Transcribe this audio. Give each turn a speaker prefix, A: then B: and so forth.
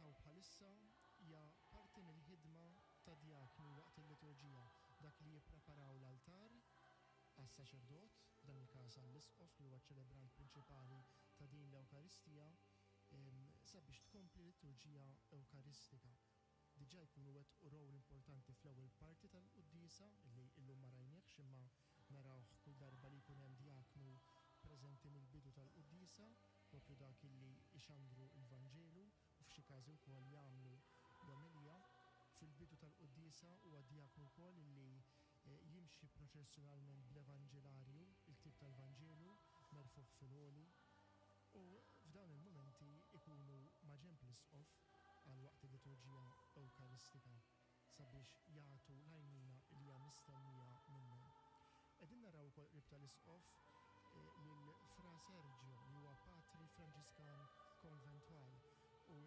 A: ninnutaw bħalissa hija parti mill-ħidma tad-djakni waqt il-liturġija, dak li jippreparaw l-altar għas-saċerdot, f'dan il-każ għall-isqof li huwa ċ-ċelebrant prinċipali ta' din l-Ewkaristija, sabiex tkompli l-liturġija Ewkaristika. Diġà jkunu wettqu role importanti fl-ewwel parti tal-quddiesa, li illum ma rajniehx imma narawh kull darba li jkun hemm djaknu preżenti mill-bidu tal-quddiesa, proprju dak illi jxandru l-Vanġelu u f'xi każi wkoll jagħmlu l-omelija. Fil-bidu tal-quddiesa huwa d-djaknu wkoll illi jimxi proċessjonalment bl-Evanġelarju, il-ktieb tal-Vanġelu, merfugħ fil-għoli, u f'dawn il-mumenti jkunu maġenb l-Isqof għal waqt il-liturġija Ewkaristika sabiex jagħtu l-għajnuna li hija mistennija minnhom. Qegħdin naraw ukoll qrib tal-Isqof lil Fra Sergio li huwa patri Franġiskan.